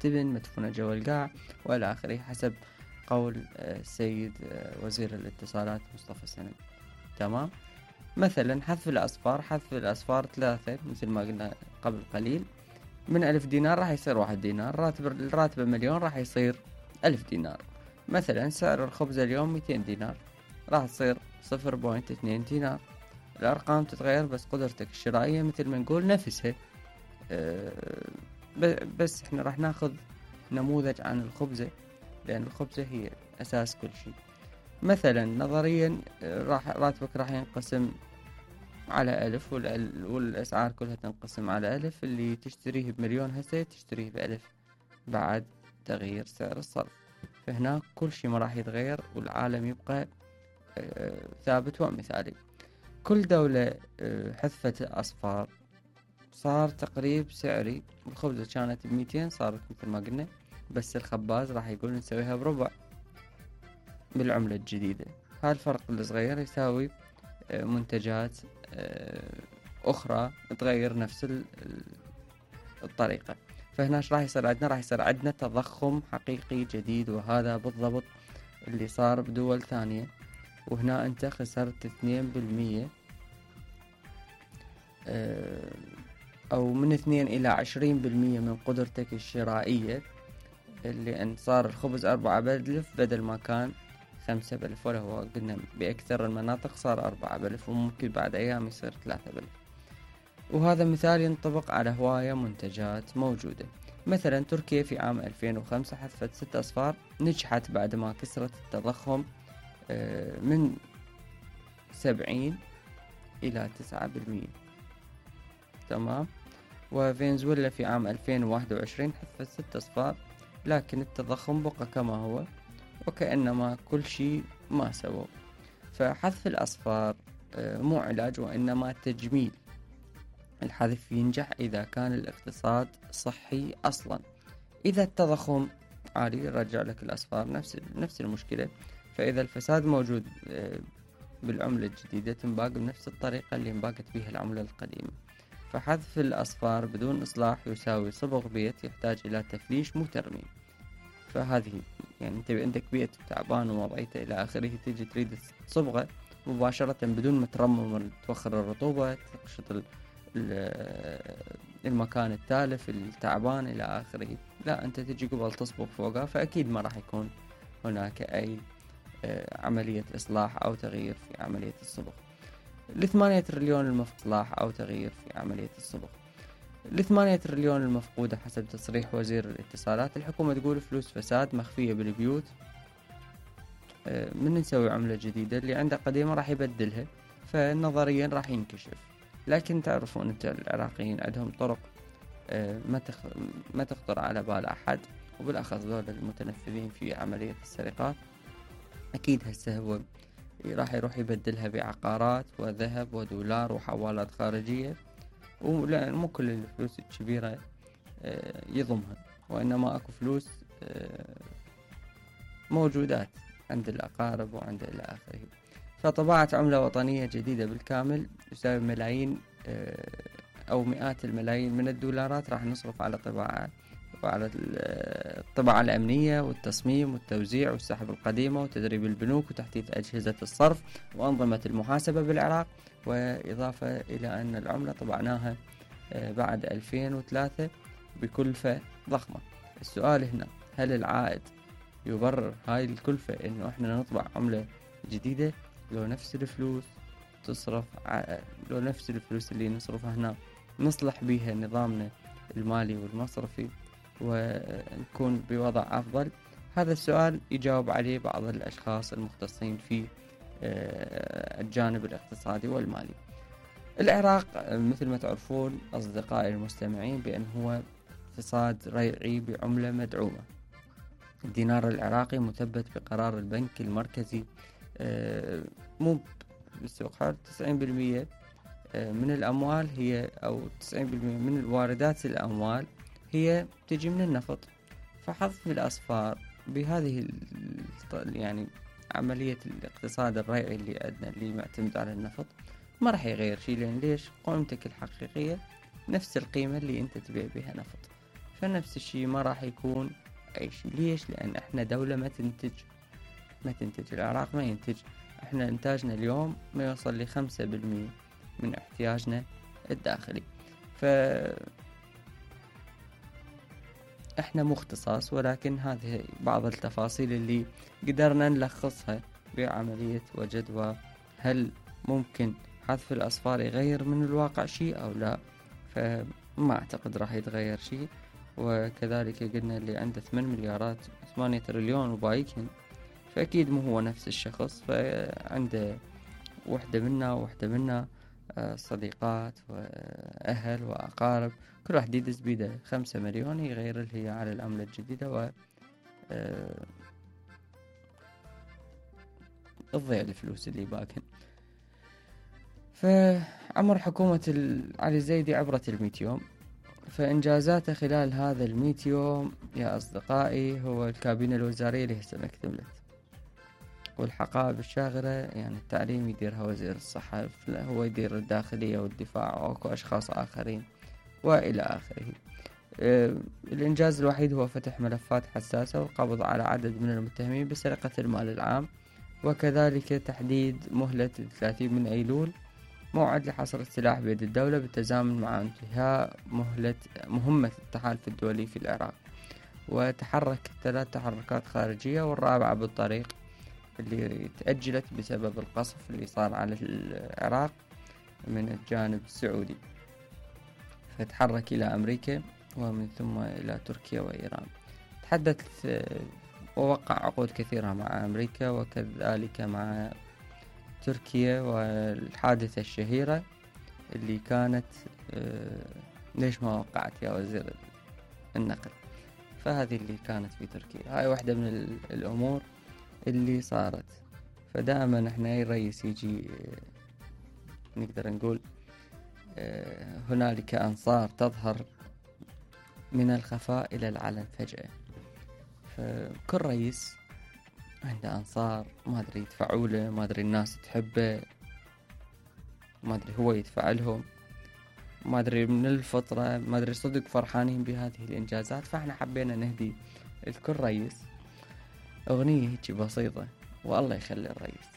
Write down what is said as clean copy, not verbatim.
التبن مدفونة جوا القاع وإلى آخره، حسب قول السيد وزير الاتصالات مصطفى سند. تمام. مثلا حذف الأصفار 3 مثل ما قلنا قبل قليل، من 1000 دينار راح يصير 1 دينار، راتب مليون راح يصير 1000 دينار. مثلا سعر الخبز اليوم 200 دينار، راح تصير 0.2 دينار. الأرقام تتغير بس قدرتك الشرائية مثل ما نقول نفسها. بس احنا راح ناخذ نموذج عن الخبزة، لأن الخبزة هي أساس كل شيء. مثلا نظريا راتبك راح ينقسم على 1000 والأسعار كلها تنقسم على 1000. اللي تشتريه بمليون هسه تشتريه ب1000 بعد تغيير سعر الصرف. فهناك كل شيء ما راح يتغير والعالم يبقى ثابت ومثالي. كل دولة حذفت الأصفار صار تقريب سعري. الخبزة كانت ب200 صارت مثل ما قلنا، بس الخباز راح يقول نسويها بربع بالعملة الجديدة. هالفرق الصغير يساوي منتجات أخرى تغير نفس الطريقة. فهنا راح يصير عندنا تضخم حقيقي جديد، وهذا بالضبط اللي صار بدول ثانية. وهنا أنت خسرت 2% أو من 2 إلى 20% من قدرتك الشرائية، لأن صار الخبز 4 ب1000 بدل ما كان 5 ب1000، ولا هو قلنا بأكثر المناطق صار 4 ب1000 وممكن بعد أيام يصير 3 ب1000. وهذا مثال ينطبق على هواية منتجات موجودة. مثلا تركيا في عام 2005 حذفت 6 أصفار، نجحت بعد ما كسرت التضخم من 70 إلى 9%. تمام. وفنزويلا في عام 2021 حذفت 6 أصفار، لكن التضخم بقى كما هو وكأنما كل شيء ما سووا. فحذف الأصفار مو علاج وإنما تجميل. الحذف ينجح إذا كان الاقتصاد صحي أصلا. إذا التضخم عالي يرجع لك الأصفار نفس المشكلة. فإذا الفساد موجود بالعملة الجديدة تنباق بنفس الطريقة اللي انباقت بها العملة القديمة. فحذف الأصفار بدون إصلاح يساوي صبغ بيت يحتاج إلى تفليش مو ترميم. فهذه يعني أنت عندك بيت تعبان ووضعيته إلى آخره، تيجي تريد تصبغه مباشرة بدون ما ترمم توخر الرطوبة تقشط المكان التالف التعبان إلى آخره. لا، أنت تجي قبل تصبغ فوقها، فأكيد ما راح يكون هناك أي عملية إصلاح أو تغيير في عملية الصبغ. 8 تريليون المفقودة أو تغيير في عملية الصبغ. 8 تريليون المفقودة حسب تصريح وزير الاتصالات. الحكومة تقول فلوس فساد مخفية بالبيوت. من نسوي عملة جديدة اللي عنده قديمة راح يبدلها، فنظريا راح ينكشف. لكن تعرفون أنت العراقيين عندهم طرق ما تخطر على بال أحد، وبالأخص دول المتنفذين في عملية السرقات. أكيد هسه هو راح يروح يبدلها بعقارات وذهب ودولار وحوالات خارجية، ولأن مو كل الفلوس الكبيرة يضمها، وإنما أكو فلوس موجودات عند الأقارب وعند إلى آخره. فطباعة عملة وطنية جديدة بالكامل يساوي ملايين أو مئات الملايين من الدولارات راح نصرف على طباعة وعلى الطباعة الأمنية والتصميم والتوزيع والسحب القديمة وتدريب البنوك وتحديث أجهزة الصرف وأنظمة المحاسبة بالعراق. وإضافة إلى أن العملة طبعناها بعد 2003 بكلفة ضخمة. السؤال هنا، هل العائد يبرر هاي الكلفة إنه إحنا نطبع عملة جديدة لو نفس الفلوس لو نفس الفلوس اللي نصرفها هنا نصلح بيها نظامنا المالي والمصرفي ونكون بوضع أفضل؟ هذا السؤال يجاوب عليه بعض الأشخاص المختصين في الجانب الاقتصادي والمالي. العراق مثل ما تعرفون أصدقائي المستمعين بأن هو اقتصاد ريعي بعملة مدعومة. الدينار العراقي مثبت بقرار البنك المركزي، مو بالسوق حر. 90% من الأموال هي أو 90% من واردات الأموال هي تجي من النفط. فحذف الأصفار بهذه يعني عملية الاقتصاد الريعي اللي عندنا اللي معتمد على النفط ما راح يغير شيء. لأن ليش؟ قيمتك الحقيقية نفس القيمة اللي أنت تبيع بها نفط. فنفس الشي ما راح يكون أي شي. ليش؟ لأن إحنا دولة ما تنتج. العراق ما ينتج. إحنا إنتاجنا اليوم ما يوصل ل5% من احتياجنا الداخلي. إحنا مختصاص، ولكن هذه بعض التفاصيل اللي قدرنا نلخصها بعملية وجدوى. هل ممكن حذف الأصفار يغير من الواقع شيء أو لا؟ فما أعتقد راح يتغير شيء. وكذلك قلنا اللي عنده 8 تريليون وبايكن، فأكيد مو هو نفس الشخص، فعنده وحدة منا صديقات وأهل وأقارب، كل واحد يدز بيده 5 مليون يغير اللي هي على العملة الجديدة و تضيع الفلوس اللي باكن. فعمر حكومة علي الزيدي عبرت 100 يوم. فإنجازاته خلال هذا 100 يوم يا أصدقائي هو الكابينة الوزارية اللي هسه ما اكتملت، والحقائب الشاغرة، يعني التعليم يديرها وزير الصحة، هو يدير الداخلية والدفاع وأكو أشخاص آخرين وإلى آخره. الإنجاز الوحيد هو فتح ملفات حساسة والقبض على عدد من المتهمين بسرقة المال العام، وكذلك تحديد مهلة 30 من أيلول موعد لحصر السلاح بيد الدولة بالتزامن مع انتهاء مهمة التحالف الدولي في العراق. وتحرك 3 تحركات خارجية، والرابعة بالطريق اللي تأجلت بسبب القصف اللي صار على العراق من الجانب السعودي، فتحرك إلى أمريكا ومن ثم إلى تركيا وإيران. تحدث ووقع عقود كثيرة مع أمريكا وكذلك مع تركيا. والحادثة الشهيرة اللي كانت ليش ما وقعت يا وزير النقل، فهذه اللي كانت في تركيا. هاي واحدة من الأمور اللي صارت. فدائما احنا اي رئيس يجي نقدر نقول هنالك أنصار تظهر من الخفاء إلى العلن فجأة. فكل رئيس عنده أنصار، ما أدري يدفعوا له، ما أدري الناس تحبه، ما أدري هو يدفع لهم، ما أدري من الفطرة، ما أدري صدق فرحانين بهذه الإنجازات. فإحنا حبينا نهدي لكل رئيس أغنية هيك بسيطة، والله يخلي الرئيس.